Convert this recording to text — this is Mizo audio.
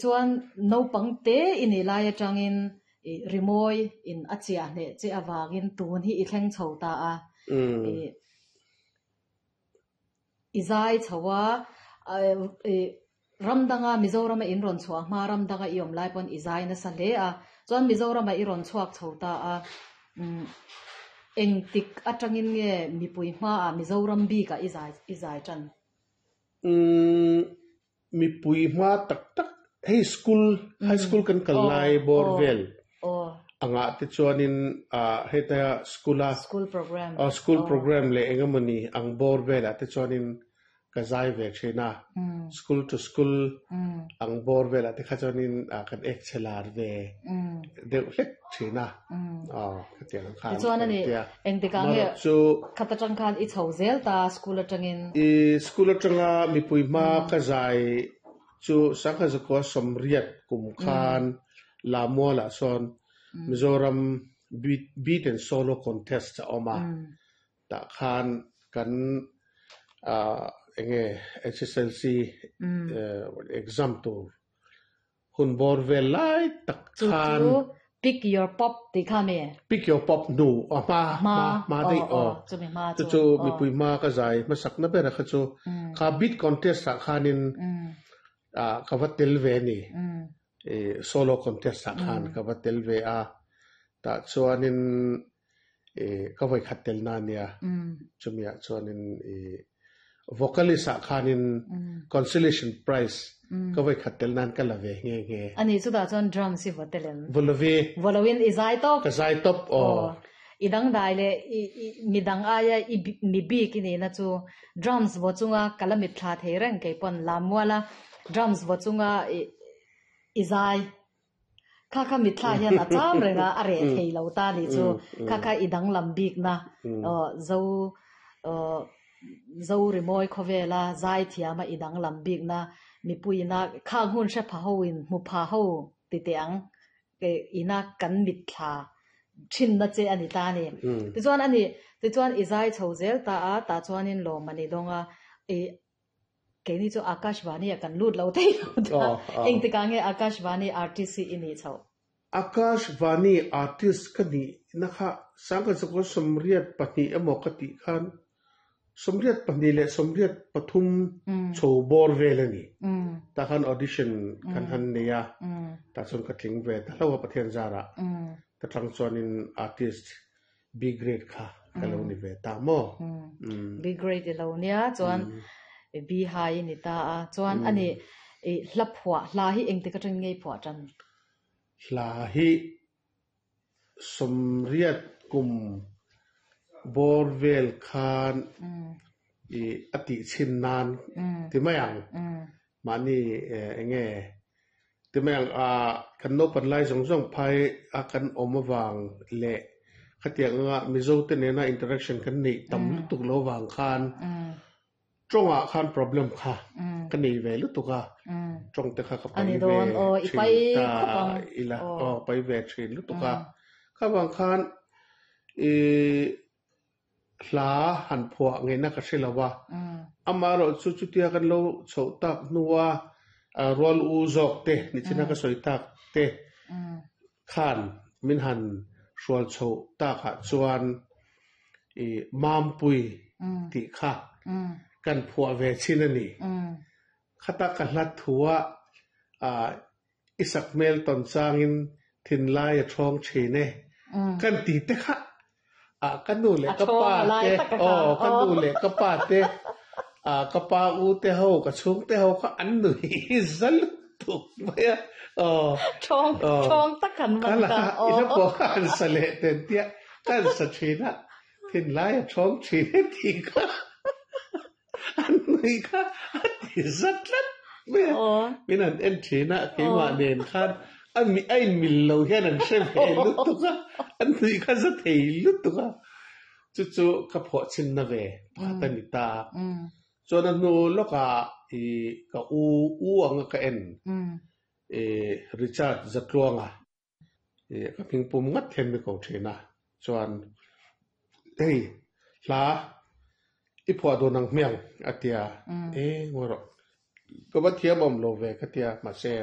Chuan naupang te i nih lai atangin i rimawi in a chiah hneh che avangin tun hi i thleng chho ta a. I i zai chho a, i ram danga Mizorama in rawn chhuah hma ram danga i awm lai pawn i zai nasa hle a. Chuan Mizorama i rawn chhuak chho ta a. Engtik atangin nge mipui hmaah Mizoram bikah i zai i zai tan? Mipui hma tak tak hei school high school kan kal lai bawr vel angah te chuanin ah heta school a school program leh eng emawni ang bawr velah te chuanin ka zai ve thin a school to school ang bawr velah te kha chuanin ah kan ek chhe lar ve deuh hlek thin a aw khatiang ang khan Tichuan ani engtikah nge khat atang khan i chho zel ta school atangin? I school atanga mipui hma ka zai chu Sangha Zakua sawmriat kum khan Lamualah sawn Mizoram Beat and Solo Contest a awm a, tah khan kan enge SSLC exam tur Hun bawr vel lai tak khan. Chu chu pick your pop tih kha mi? Pick your pop hnu a hma hma hma daih aw. Chumi hma chu. Chu chu mipui hma ka zai hmasakna ber a kha chu kha beat contest ah khanin ka va tel ve a ni. Solo contest ah khan ka va tel ve a. Tah chuanin ka vawikhat telna a nia. Chumi ah chuanin vocalist ah khanin consolation prize ka vawikhat tel nan ka la ve nghe nghe. Ani chutah chuan drums hi vaw tel em? Vaw lo ve. Vaw loin i zai tawp? Ka zai tawp aw. I dangdai leh midang aia i mi bik i nihna chu drums vaw chunga ka la mitthla thei reng kei pawn Lammuala drums vaw chunga i zai Kha kha mitthla hian a cham reng a, a reh thei lo ta nih chu. Kha kha i danglam bikna zo zo rimawi khawvela zai thiama i danglam bikna mipuiina khang hun hre pha ho in hmu pha ho ti teh ang ina kan mitthla thinna che a ni ta a ni. Tichuan a ni, tichuan i zai chho zel ta a, tah chuanin lawm a ni dawng a, i Keini chu Akashvani ah kan lut lo thei lo ta. Engtikah nge Akashvani artist hi i nih chhoh? Akashvani artist ka nih na kha Sangkazakua 82 emaw ka tih khan 82 leh 83 chho bawr vel a ni. Tah khan audition kan han nei a, tah chuan ka tling ve ta hlauh a Pathian zarah. Ta tang chuanin artist B grade kha ka lo ni ve ta maw? B grade i lo nia chuan B high i ni ta a, chuan a ni i hla phuah, hla hi engtik atangin nge i phuah tan? Hla hi 80 kum bawr vel khan i a tih chhin nan ti mai ang. Mahni eng nge ti mai ang a, kan naupan lai zawng zawng phai a kan awm avang leh khatiang anga Mizo te nena interaction kan neih tam lutuk lo vang khan tawngah khan problem kha ka nei ve lutuk a, tawng te kha ka pai ve thin ta ila aw pai ve thin lutuk a, kha vang khan i Hla han phuah ngeihna ka hre lo a, amaherawh chu chutia kan lo chhoh tak hnua rual u zawk te nichina ka sawi tak te khan min han hrual chhoh takah chuan i Mampui tih kha kan phuah ve chin a ni. Khata ka hla thua I sak hmel tawn changin thinlai a thawng thin e. Kan ti te kha ah ka nu leh ka pa te aw ka nu leh ka pa te ah ka pa u te ho ka chhung te ho kha an nui za lutuk mai a aw Thawng thawng tak an man ta aw. I la pawh kha an sa leh ten tia ka an sa thin a thinlai a thawng thin e tih kha An nui kha a ti za tlat mai a, min han en thin a, keimah nen khan a mi a inmil lo hian an hre ve lutuk a, an nui kha za thei lutuk a, chu chu ka phuah chhinna ve pakhat a ni ta. Chuan a hnu lawkah i ka u u anga ka en i Richard Zatluanga Ih ka hming pum ngat hian mi ko thin a, chuan hei hla i phuah dun ang hmiang a tia, e ngawi rawh ka va thiam awm lo ve ka tia mahse.